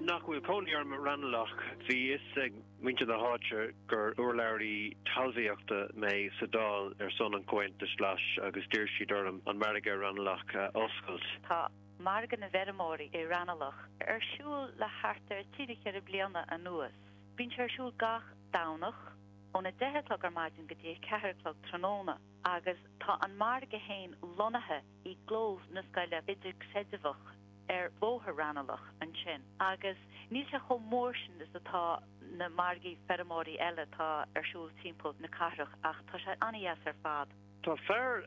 nach bhfuil cónaí orm i Raghnallach, bhí fhios ag muintir na háite gur urlabhraí talmhaíochta mé sa Dáil ar son an Chomhaontais Ghlais agus d'iarr siad orm an margadh i Raghnallach a oscailt. Tá Margadh na bhFeirmeoirí i Raghnallach ar siúl le thart ar thrí nó cheithre bliana anuas. Bíonn sé ar siúl gach Domhnach ón 10 a chlog ar maidin go dtí 4 a chlog tráthnóna agus tá an margadh féin lonnaithe i gclós na scoile idirchreidmheach ar Bhóthar Raghnallach ansin agus níl sé chomh mór sin is atá na margaí feirmeoirí eile atá ar siúl timpeall na cathrach ach tá sé an-dheas ar fad. Tá fear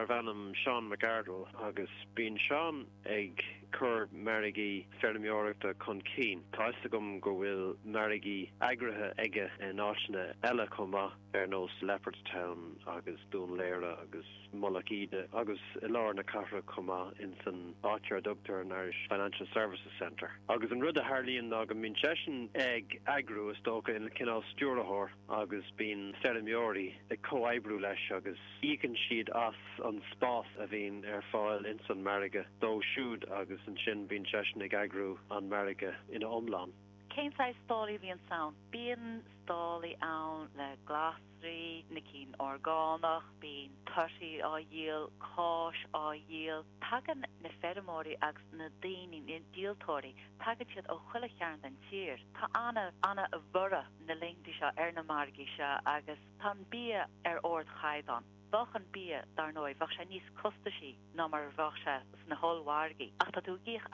arbh ainm Seán McArdle agus bíonn Seán ag cur margaí feirmeoireachta chun cinn. Tá fhios agam go bhfuil margaí eagraithe aige in áiteanna eile chomh maith ar nós Leopardstown agus Dún Laoghaire agus. Mullach Íde agus i lár na cathrach chomh maith, ins an áit ar a dtugtar an Irish Financial Services Centre. Agus an rud a tharlaíonn ná go mbíonn seisean ag eagrú, is dócha, ina chineál stiúrthóir agus bíonn feirmeoirí ag comhoibriú leis agus íocann siad as an spás a bhíonn ar fáil ins an margadh dó siúd agus ansin bíonn seisean ag eagrú an margadh ina iomlán. Cén saghas stálaí a bhíonns ann? Bíonn stálaí ann le glasraí. na cinn orgánach, bíonn torthaí á dhíol, cáis á dhíol. Tagann na feirmeoirí agus na daoine, na díoltóirí, tagann siad ó chuile chearn den tír. Tá ana, ana-bhorradh na laethanta seo ar na margaí seo agus tá an bia ar ardchaighdeán. Bheadh an bia, dar ndóigh, bheadh sé níos costaisí ná mar a bheadh sé sna hollmhargaí ach tá tú ag íoc as.